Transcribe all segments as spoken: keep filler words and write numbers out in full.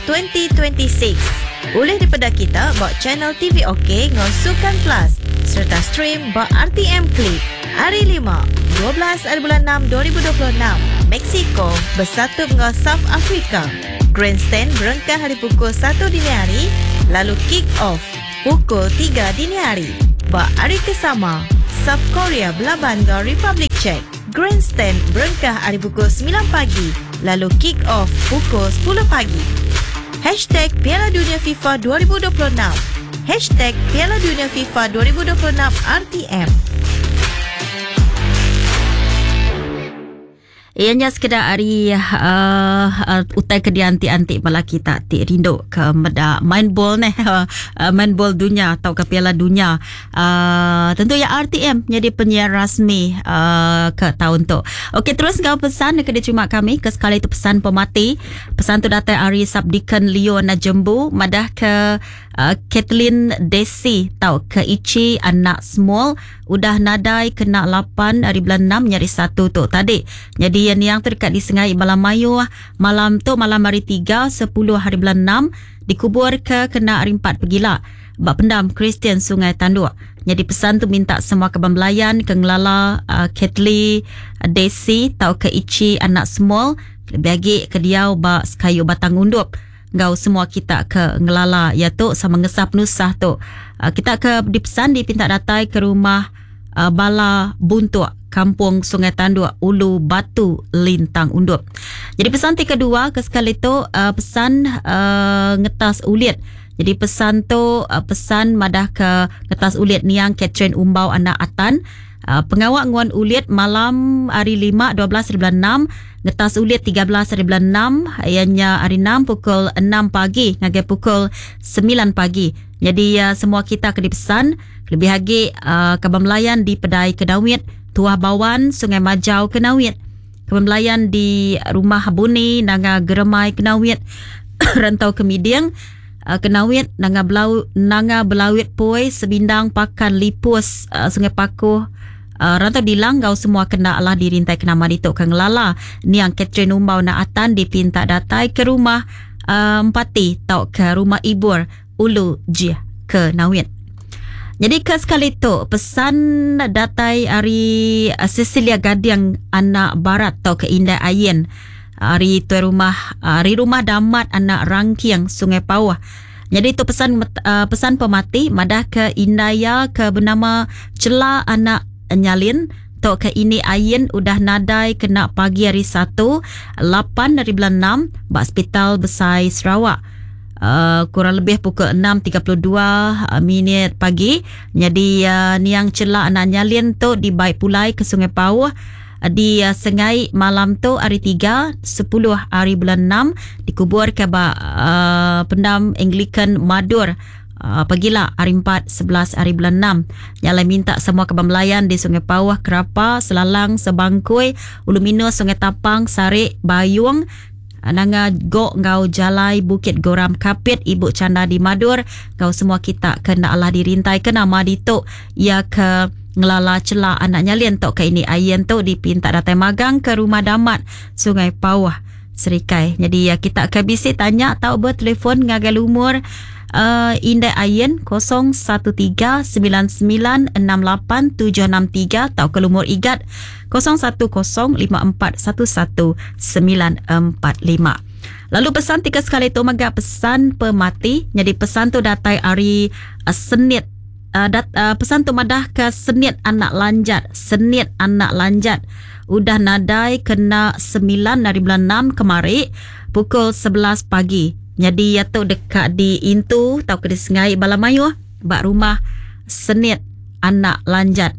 dua ribu dua puluh enam. Boleh daripada kita ba channel T V OK ngau Sukan Plus serta stream ba R T M Click. Hari lima, dua belas hari bulan enam dua ribu dua puluh enam, Mexico bersatu dengan South Africa. Grandstand berengkah hari pukul satu dini hari, lalu kick off pukul tiga dini hari. Ba hari kesama, South Korea berlaban dengan Republic Czech. Grandstand berengkah hari pukul sembilan pagi, lalu kick off pukul sepuluh pagi. Hashtag Piala Dunia FIFA dua ribu dua puluh enam. Hashtag Piala Dunia FIFA dua ribu dua puluh enam R T M. Ianya sekedar hari uh, uh, utai ke dianti-anti bala kita ti rindu ke meda main bol neh uh, main bol dunia atau ke Piala Dunia. Uh, tentu ya R T M jadi penyiar rasmi uh, ke tahun tu. Okey, terus ngau pesan ke diterima kami ke sekali itu pesan pemati. Pesan tu datang hari Sabdikan Leo Najembu madah ke uh, Kathleen Desi tau ke Ichi anak small udah nadai kena lapan hari bulan enam nyari satu tu tadi. Jadi yang yang terdekat di Sengai Malam Mayu malam tu malam hari tiga sepuluh hari bulan enam dikubur ke kena hari empat pegila bak pendam Kristian Sungai Tanduk. Jadi pesan tu minta semua kebang belayan ke ngelala uh, Kathleen Desi tau ke Ichi anak small lebih lagi ke diau bak sekayu batang undup. Gau semua kita ke ngelala ya tu sama ngesah penusah tu. Uh, kita ke dipesan dipinta datai ke rumah uh, Bala Buntuk Kampung Sungai Tanduk Ulu Batu Lintang Undup. Jadi pesan ti kedua ke sekali tu uh, pesan uh, ngetas ulit. Jadi pesan tu uh, pesan madah ke ngetas ulit niang Catherine Umbau anak Atan. Uh, pengawak nguan ulit malam hari lima dua belas hari bulan enam, ngetas ulit tiga belas hari bulan enam, ianya hari enam pukul enam pagi ngagai pukul sembilan pagi. Jadi uh, semua kita ke dipesan lebih lagi uh, kabam melayan di Pedai Kedawit, Tuah Bawan, Sungai Majau Kenawit. Kabam melayan di Rumah Buni, Nanga Geremai Kenawit, Rantau Kemiding, Uh, Kenawit, Nanga Belau, Nanga Belawit Poi, Sebindang Pakan Lipus, uh, Sungai Pakuh, Uh, rantau dilang kau semua kena lah dirintai kena mari tok kang lala niang Catherine Umbau na Atan dipinta datai ke rumah uh, Empati tau ke rumah Ibur Ulu Jih ke Nawit. Jadi ke sekali tu pesan datai hari Cecilia Gadiang anak Barat tau ke Indah Ayen hari tuan rumah hari rumah Damat anak Rangkiang Sungai Pauh. Jadi itu pesan uh, pesan pemati madah ke Indaya ke bernama Cela anak Nyalin tok ke ini Ayen udah nadai kena pagi hari satu lapan dari bulan enam bak Hospital Besai Sarawak. Uh, kurang lebih pukul enam tiga puluh dua minit pagi. Jadi uh, niang Cela anak Nyalin tu dibaik pulai ke Sungai Pauh di uh, Sengai malam tu hari tiga sepuluh hari bulan enam dikubur ke bak uh, pendam Anglican Madur. Uh, pagilah hari empat sebelas hari bulan enam. Nyalai minta semua kebang melayan di Sungai Pauh, Kerapa, Selalang, Sebangkui, Ulu Minus, Sungai Tapang, Sarik, Bayung, Nanga Gok, Ngau Jalai, Bukit Goram, Kapit, Ibu Canda di Madur. Ngau semua kita kena Allah dirintai ke nama dituk ya ke ngelala Cela anak Nyalin tok ke ini Ayen tu dipinta datai magang ke rumah Damat Sungai Pauh Serikai. Jadi ya kita ke bisi tanya tau bertelefon ngagai lumur Uh, Indai Ayen kosong satu tiga sembilan sembilan enam lapan tujuh enam tiga atau ke lumur igat kosong satu kosong lima empat satu satu sembilan empat lima. Lalu pesan tiga sekali tu mega pesan pemati. Jadi pesan tu datai hari uh, Senit uh, dat, uh, pesan tu madah ke Senit anak Lanjat. Senit anak Lanjat udah nadai kena sembilan dari bulan enam kemari pukul sebelas pagi. Jadi ia tu dekat di Intu tau ke di Sengai Balamayuh bak rumah Senit anak Lanjat.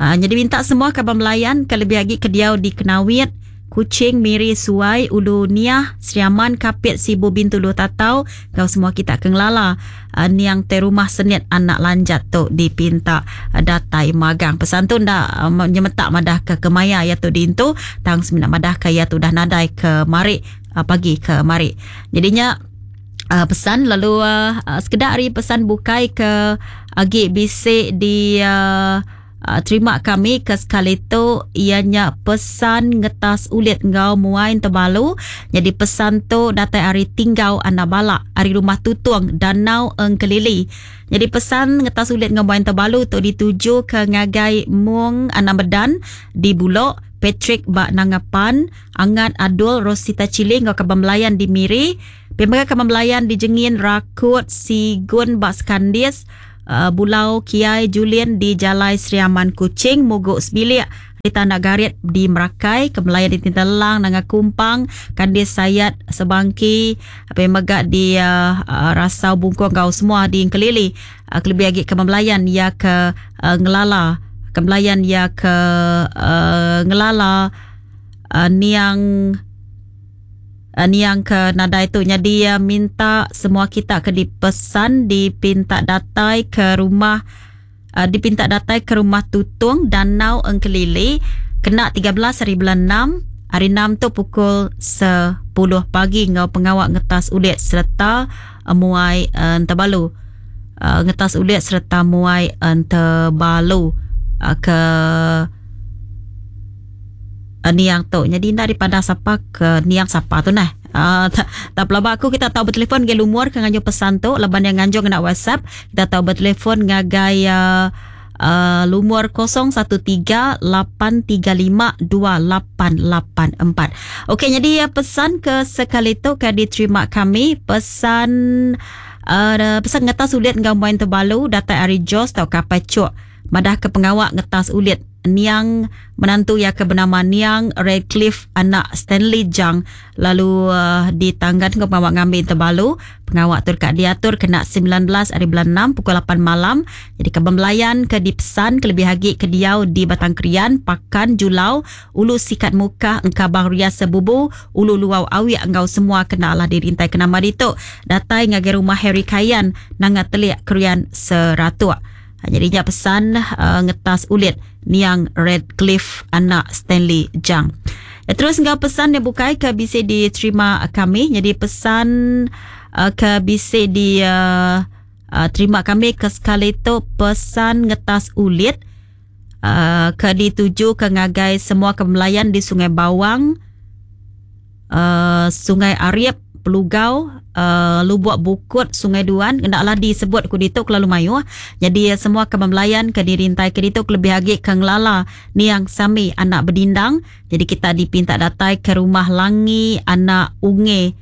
Ha, jadi minta semua kabar melayan ke lebih lagi ke diau di Kenawit, Kuching, Miri, Suai, Ulu Niah, Seriaman, Kapit, Sibu, Bintulu, Tatau. Kau semua kita kenglala uh, niang te rumah Senit anak Lanjat tu dipinta uh, datai magang. Pesan tu ndak uh, nyemetak madah ke kemaya ya tu di Intu, tang semina madah ke ya tu dah nadai ke mari uh, pagi ke mari. Jadinya uh, pesan lalu uh, uh, sekedar hari pesan bukai ke agi bisik di uh, uh, terima kami ke sekali tu ianya pesan ngetas ulit ngau muai tebalu. Jadi pesan tu datai ari Tinggau Anak Balak ari rumah Tutung Danau Engkelili. Jadi pesan ngetas ulit ngau muai tebalu tu dituju ke ngagai Mung Anak Medan di Bulok, Patrick Bak Nangapan, Angat Adul Rosita Cili ngau Kabang Melayan di Miri, Pemega Kabang Melayan di Jengin Rakut Sigun Bak Skandis, uh, Bulau Kiai Julian di Jalai Sri Aman Kuching, Muguk Sebilik di Tanah Garit di Merakai, Kemelayan di Tintelang, Nanga Kumpang, Kandis Sayat Sebangki, Pemega di uh, uh, Rasau Bungkong ngau semua di Engkelili, uh, kelebih lagi Kabang Melayan ya ke uh, Ngelala Kemelayan ya ke uh, Ngelala uh, niang uh, niang ke nadai tu. Jadi uh, minta semua kita ke dipesan dipinta datai ke rumah uh, dipinta datai ke rumah Tutung Danau Engkelili kena tiga belas hari bulan enam hari enam tu pukul sepuluh pagi ngau pengawak ngetas ulit serta uh, muai uh, entebalu uh, ngetas ulit serta muai entebalu ke uh, niang tu. Jadi daripada siapa ke niang siapa tu nah. Uh, tak, tak pelaba aku kita tahu bertelefon ke lumur ke nganjo pesan tu laban yang nganjo kena WhatsApp, kita tahu bertelefon ngagai uh, uh, lumur kosong satu tiga lapan tiga lima dua lapan lapan empat. Okey, jadi uh, pesan ke sekali tu ke diterima kami pesan uh, pesan ngetas ulit ngau main terbalu datai ari Jos tau kapai cuk madah ke pengawak ngetas ulit niang menantu yang ke bernama Niang Redcliffe anak Stanley Jang lalu uh, ditanggan ke pengawak ngambil terbalu. Pengawak tu dekat diatur kena sembilan belas hari bulan enam pukul lapan malam. Jadi ke Bembelayan ke dipesan ke lebih hagi ke diau di Batang Krian, Pakan, Julau, Ulu Sikat Muka, Engkabang Ria Sebubu, Ulu Luau Awi engkau semua kena lah dirintai ke nama ditu. Datai ngagai rumah Harry Kayan nanga telik Krian Seratuk. Jadinya pesan uh, ngetas ulit Niang Redcliffe anak Stanley Jang. Ya, terus enggak pesan yang bukai ke bisa diterima kami. Jadi pesan uh, ke bisa di uh, uh, terima kami ke sekali tu pesan ngetas ulit uh, ke dituju ke ngagai semua kemelayan di Sungai Bawang, uh, Sungai Ariep, Pelugau, uh, Lubuk Bukut, Sungai Duan, kendaklah disebut ku ditu kelalu mayuh. Jadi semua kemelayan ke dirintai ke ditu lebih agi ke ngelala Niang Sami anak Bedindang. Jadi kita dipinta datai ke rumah Langi anak Unge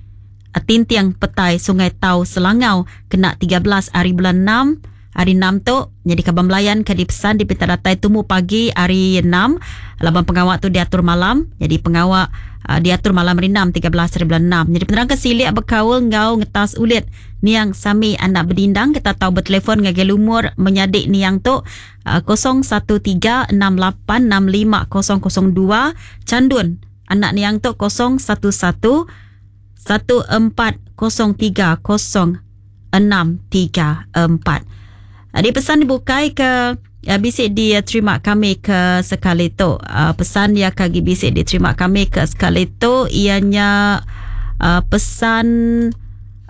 Tintiang Petai Sungai Tau Selangau kena tiga belas hari bulan enam. Hari enam tu jadi kabang melayan ke dipesan dipinta datai tumu pagi hari enam. Laban pengawak tu diatur malam. Jadi pengawak uh, diatur malam hari enam tiga belas hari bulan enam. Jadi penerang ke silik berkaul ngau ngetas ulit Niang Sami anak Bedindang, kita tahu bertelefon ngagai lumur menyadik Niang tu uh, kosong satu tiga enam lapan enam lima kosong kosong dua. Candun anak Niang tu kosong satu satu satu empat kosong tiga kosong enam tiga empat. Di pesan dibukai ke uh, bisik diterima kami ke sekali tu. Uh, pesan yang kagi bisik diterima kami ke sekali tu ianya uh, pesan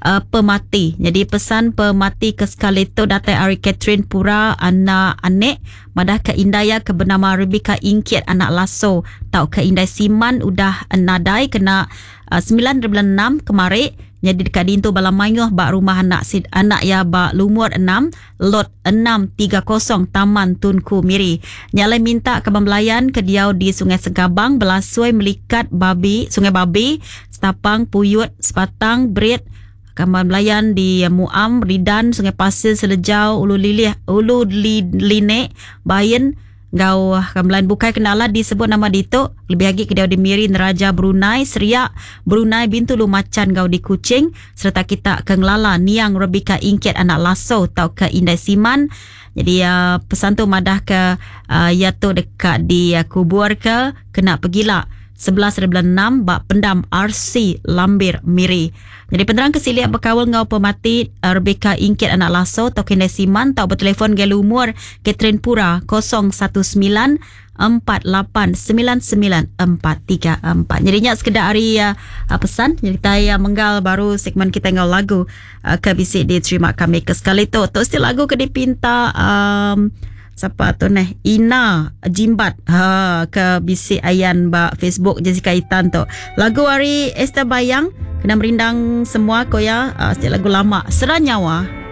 uh, pemati. Jadi pesan pemati ke sekali tu datai ari Catherine Pura anak Anek madah ke Indaya ke bernama Rebecca Ingkit anak Lasso tau ke Indai Siman udah nadai kena uh, sembilan bulan enam kemari. Jadi dekat dintu bala mayuh bak rumah anak sid, anak ya bak lumur enam lot enam tiga kosong Taman Tunku Miri. Nyalai minta ke Bembelayan ke diau di Sungai Segabang, Belasui, Melikat, Babi, Sungai Babi, Setapang, Puyut, Sepatang, Berit, Kamar Belayan di Muam, Ridan, Sungai Pasir, Selejau, Ulu Lilih, Ulu Linek, Bayin, Gau Kamlan bukai kenala disebut nama ditu lebih lagi ke dia di Miri, Neraja, Brunei, Seriak, Brunei, Bintulu, Macan, gau di Kuching serta kita ke Ngelala Niang Rebecca Ingkit anak Lasso tau ke Indai Siman. Jadi uh, pesan tu madah ke uh, ya tu dekat di uh, kubur ke kena pergila sebelas hari bulan enam bak pendam R C Lambir Miri. Jadi penerang kesiliak berkawal ngau pemati Rebecca Ingkit anak Lasso atau Kendai Siman tau bertelefon gel umur Catherine Pura kosong satu sembilan empat lapan sembilan sembilan empat tiga empat. Jadi nyak sekedar hari uh, pesan jadi kita uh, menggal baru segmen kita ngau lagu uh, ke bisik diterima kami ke sekali tu. Tu still lagu ke dipinta um, Siapa tu neh Ina Jimbat ha ke bisi ayan ba Facebook Jessica Itan tu. Lagu ari Esther Bayang kena merindang semua ko ya uh, setiap lagu lama Sera Nyawa.